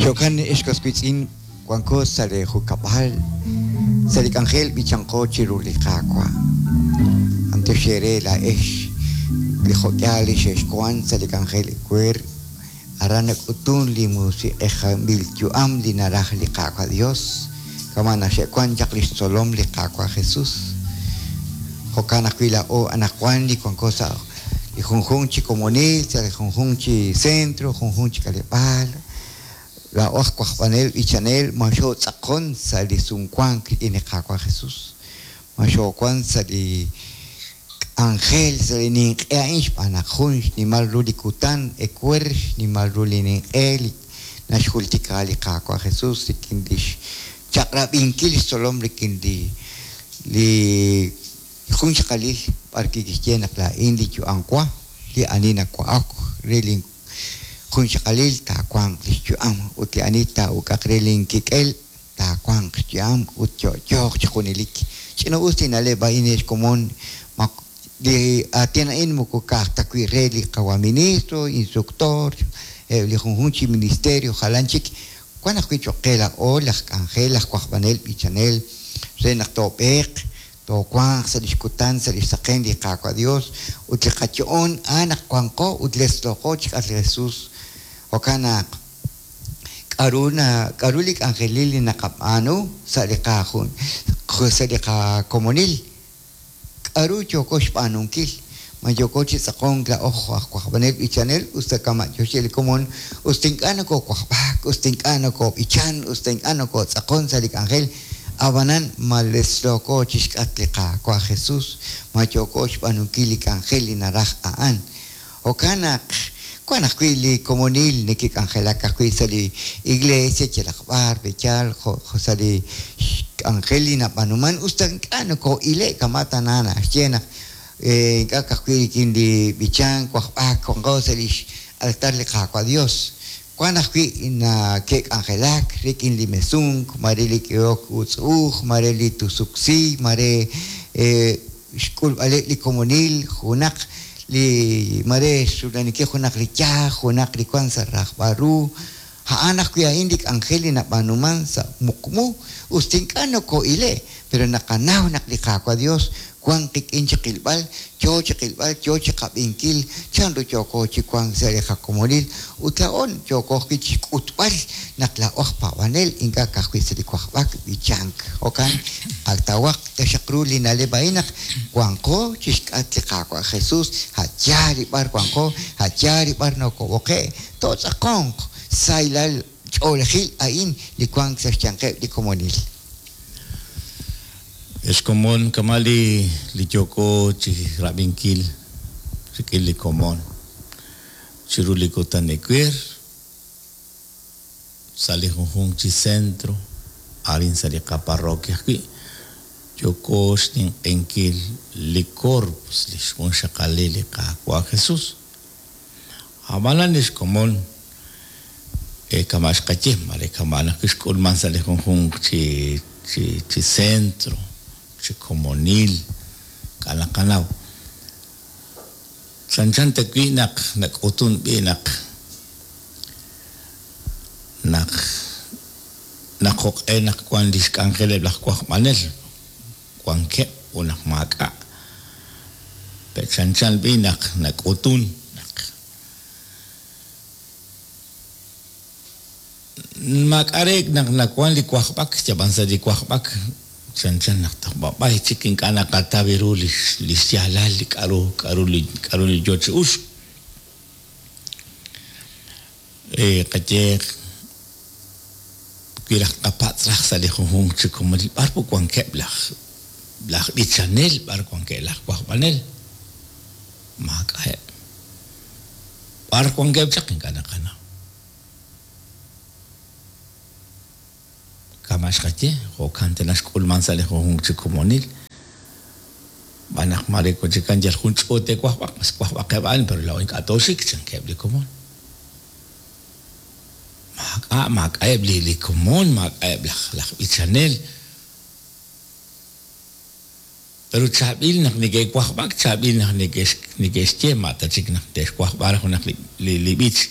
Jo'kan ex was wiitz'in wanko sa' li junkab'al sa' li k'anjel b'ichanqo chiru li Qaawa'. B'antiox eere laa'ex li jo'k'ihal li xexwank sa' li k'anjel ewer aran nak'utun li musiq'ejanb'il yu'am li naraj li Qaawa' Dios kama' naq xe'wank chaq lix tzolom li Qaawa' Jesus. Jo'kan ajwi' laa'o anaqwan li wanko sa' li junjunq chi komonil, sa' li junjunq chi centro, junjunq chi k'aleb'aal, laa'o aj wajb'anel b'ichanel ma xootz'aqon sa' li sumwank rik'in li Qaawa' Jesus, ma xoowan sa' li k'anjel sa' li ninq'e a'in xb'aan naq jun xnimal ru li kutan ewer, xnimal ru li ninq'e li naxjultika li Qaawa' Jesus rik'in lix chaq'rab'inkil xtzolom rik'in li li jun xaqalil b'ar wi' kixye naq laa'in li yu'am wa, li ani nawa'ak re lin jun xaqalil taawanq lix yu'am, ut li ani taa'uk'aq re lin kik'el taawanq xyu'am ut yo'yooq chi junelik. Ch'ina-us li na'leb' a'in ex komon, ma li aatin a'in moko ka'aj ta wi' re li qawa' ministro, instructor, eb' li junjunq chi ministerio jalan chik, wan ajwi' choq' qe laa'o laj k'anjel, laj wajb'anel, b'ichanel, re naq toob'eeq, toowanq sa' lix kutan, sa' lix saqen li Qaawa' Dios, ut li qayo'on a'an naq wanqo ut letzlooqo chik'atq li Jesus. Jo'kan naq, k'a'ru na, k'a'ru li k'anjelil li naqab'aanu sa' li qajun, sa' li qakomonil? K'a'ru yooko xb'aanunkil? Ma yooko chi tz'aqonk laa'o jo' aj wajb'anel b'ichanel, us ta kama' yoxye li komon, us ta ink'a' nokowajb'ak, us ta ink'a' nokob'ichan, us ta ink'a' nokotz'aqon sa' li k'anjel, a'b'anan ma letzlooko chixk'atq li Qaawa' Jesus, ma yooko xb'aanunkil li k'anjel li naraj a'an? Jo'kan naq, wan ajwi' li komonil neke'k'anjelak ajwi' sa' li iglesia yalaq b'ar, b'eyal, jo' sa' li k'anjel li nab'aanuman, us ta ink'a' noko'ile' kama' tana naxye naq ink'a' ka'ajwi' rik'in li b'ichank, wajb'ak, wanqo sa' lix altar li Qaawa' Dios. Wan ajwi' nake'k'anjelak rik'in li mesunk, maare li k'ehok utz'u'uj, maare li tusuk si, maare xk'ulb'aleb' li komonil, junaq li maare xrula'aninkil junaq li yaj, junaq li wan sa' rajb'al ru. A'an ajwi' a'in li k'anjel li nab'aanuman sa' muqmu, us ta ink'a' noko'ile', pero naqanaw naq li Qaawa' Dios wan qik'in chiqilb'al, yoo chiqilb'al, yoo chiqab'inkil chanru yooko chi wank sa' li qakomonil, ut laa'o yooko ajwi' chixk'utb'al naq laa'o aj paab'anel, ink'a' ka'ajwi' sa' li wajb'ak b'ichank. Jo'kan, qatawaq taxaq ru li na'leb' a'in naq wanqo chixk'atq li Qaawa' Jesus, a' yaal li b'ar wanqo, a' yaal li b'ar nokob'oqe', tootz'aqonq sahilal ch'oolejil a'in li wank sa' xyanqeb' li komonil. Ex komon, kama' li li yooko chi rab'inkil rik'in li komon chiru li kutan ewer sa' li junjunq chi centro arin sa' li qaparroquia ajwi', yooko xninq'ehinkil li Corpus, lix junxaqalil li Qaawa' Jesus. A'b'anan lix komon kama' xqaye, mare kama' naq kixk'ulman sa' li junjunq chi chi chi centro, chi komonil, k'a' naqanaw. Chanchan ta wi' naq nak'utun b'i' naq naq naq jo'q'e naq wan lix k'anjeleb' laj wajb'anel, wankeb' ut naq maak'a'. Pe' chanchan b'i' naq nak'utun naq maak'a' reek' naq nawan li wajb'ak, yab'an sa' li wajb'ak chanchan naq toj b'ab'ay chik ink'a' naqataw ru li xyaalal li k'a'ru k'a'ru li k'a'ru li yoo chi uxk. Qayeeq, wi raj tqapatz' raj sa' li junjunq chi komonil b'ar wankeb' laj laj b'ichanel, b'ar wankeb' laj wajb'anel, maak'a'eb'. B'ar wankeb' chaq ink'a' naqanaw. Kama' xqaye, jo'kan tana xk'ulman sa' li junjunq chi komonil. Xb'aan naq maare wan chikan yal jun ch'uut te'wajb'aq, mas wajb'aqeb' a'an, pero laa'o ink'a' tooxik, chankeb' li komon. Maak'a', maak'a'eb' li li komon, maak'a'eb' laj laj b'ichanel. Pero chaab'il naq neke'wajb'ak, chaab'il naq neke'x neke'xye, ma' ta chik naq te'xwajb'a raj junaq li li li b'ich.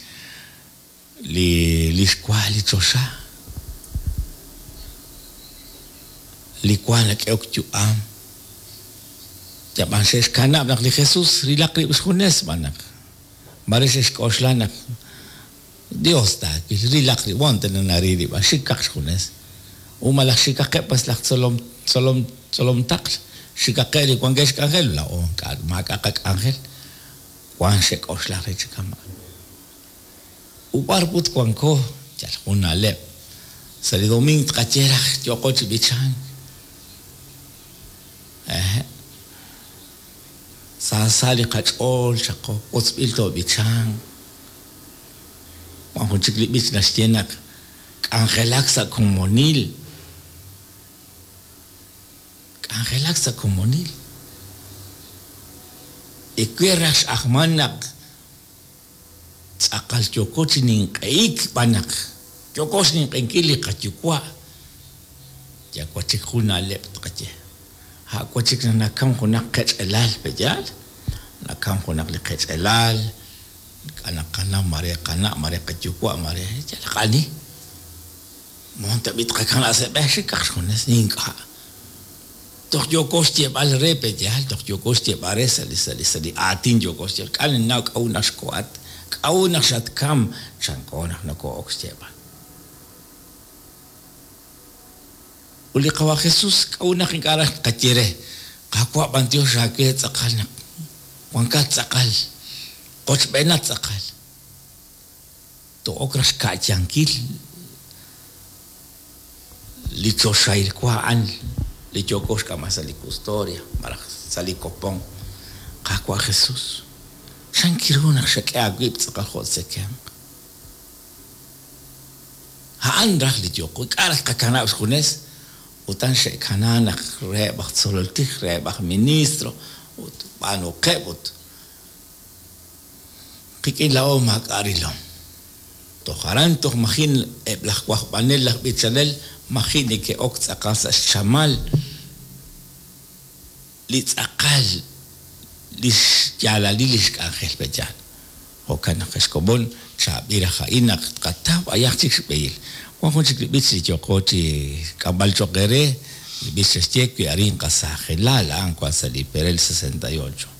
Li li xwa li choxa, li wa nak'ehok yu'am. Yab'an xe'xkanab' naq li Jesús rilaq rib' xjunes xb'aan naq mare xe'xk'oxla naq Dios taawil, rilaq rib', wan tana naril rib', xikaq xjunes. U malaj xikaqeb' pas laj tzolom, tzolom, tzolom taql, xikaqeb' li wankeb' xk'anjel, laa'o ink'a' maak'a' qak'anjel, wan xe'k'oxla re chi kama'an. U b'ar put wanko, yal jun na'leb'. Sa' li domiing tqaye raj yooqo chi b'ichank. Ehe'. Saasa li qach'ool chaqo, wotzb'il toob'ichanq. Wan jun chik li b'ich naxye naq k'anjelak sa' komonil. K'anjelak sa' komonil. Ewer raj x'ajman naq Tz'aqal yooko chi ninq'ehik xb'aan naq yooko xninq'ehinkil li qaYuwa'. Yal wan chik jun na'leb' tqaye. A' wan chik naq nakam junaq qech'elal, pe'yaal? Nakam junaq li qech'elal, ink'a' naqanaw mare qana', mare qayuwa', mare yalaq ani. Moon tab'i' tqakanab' sa' b'e xikaq xjunes? Ink'a'. Toj yooko xyeeb'al re, pe'yaal? Toj yooko xyeeb'al re sa' li sa' li sa' li aatin yooko xyeeb'al. K'a' ninnaw k'a'ut naq xkohat, k'a'ut naq xatkam, chanko naq nokoo'ok xyeeb'al. Ut li Qawa' Jesús, k'a'ut naq ink'a' raj tqaye re, Qaawa' b'antiox aawe tz'aqal naq wankat tz'aqal, qochb'eenat tz'aqal. Too'ok raj xka'yankil li choxahil wa a'an li yooko xk'amb'al sa' li custodia malaj sa' li kopon. Qaawa' Jesus, chan ru naq xak'e aawib' tz'aqal jo' tzekemq? A'an raj li yooko. Ink'a' raj tqakanab' xjunes. Utan xe'kana naq reheb' aj tzolol tij, reheb' aj ministro, ut b'aanuqeb' ut Qik'in laa'o maak'a' rilom. Toj aran toj maji' eb' laj wajb'anel laj b'ichanel maji' neke'ok tz'aqal sa' xchamal li tz'aqal li xyaalalil li xk'anjel pe'yaal. Jo'kan naq ex komon chaab'il raj a'in naq tqataw b'ayaq chik xb'ehil. Wan jun chik li b'ich li yooqo chi k'amb'al cho'q eere, li b'ich xe'xye wi arin qasaajelal a'an wan sa' li perel 68.